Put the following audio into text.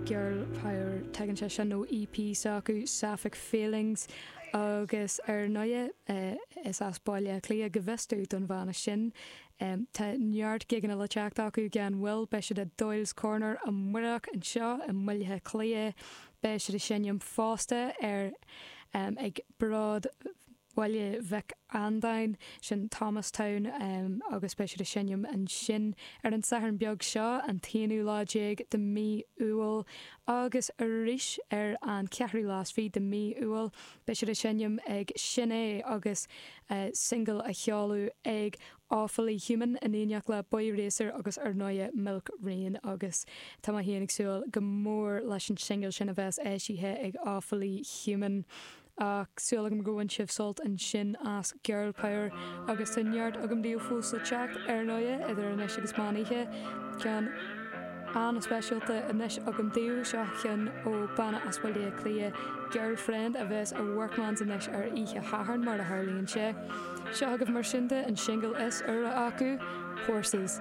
Girl Power. Tagann sé sin ó EP s'acu, Sapphic Feelings, agus ar ndóighe is as Baile Átha Cliath, go bhfios domh, don bhanna sin. Tá neart gigeanna le teacht acu gan mhoill, beidh siad i Doyle's Corner amárach anseo i mBaile Átha Cliath, beidh siad ag seinm fosta ar ag Bród Bhaile Mhic Andáin, sin Thomastown, agus beidh siad ag seinm ansin ar an Satharn beag seo, an t-aonú lá déag de mhí Iúil, agus arís ar an cheathrú lá is fiche de mhí Iúil, beidh siad ag seinm ag Sin É agus singil á sheoladh ag Awfully Human in éineacht le Boy Racer agus ar ndóighe Milk Rain agus tá mé féin ag súil go mór leis an singil sin a bheas eisithe ag Awfully Human. Ach súil agam gur bhain sibh sult ansin as Girl Power agus tá neart agam daoibh fós le teacht, ar ndóighe, idir anois agus meán oíche. Ceann an-speisialta anois agam daoibh, seo ceann ó banna as Baile Átha Cliath, Girlfriend, a bheas i Workman's anois ar oíche Shathairn, mar a tharlaíonn sé. Seo agaibh mar sin de, an singil is úire acu, Horses.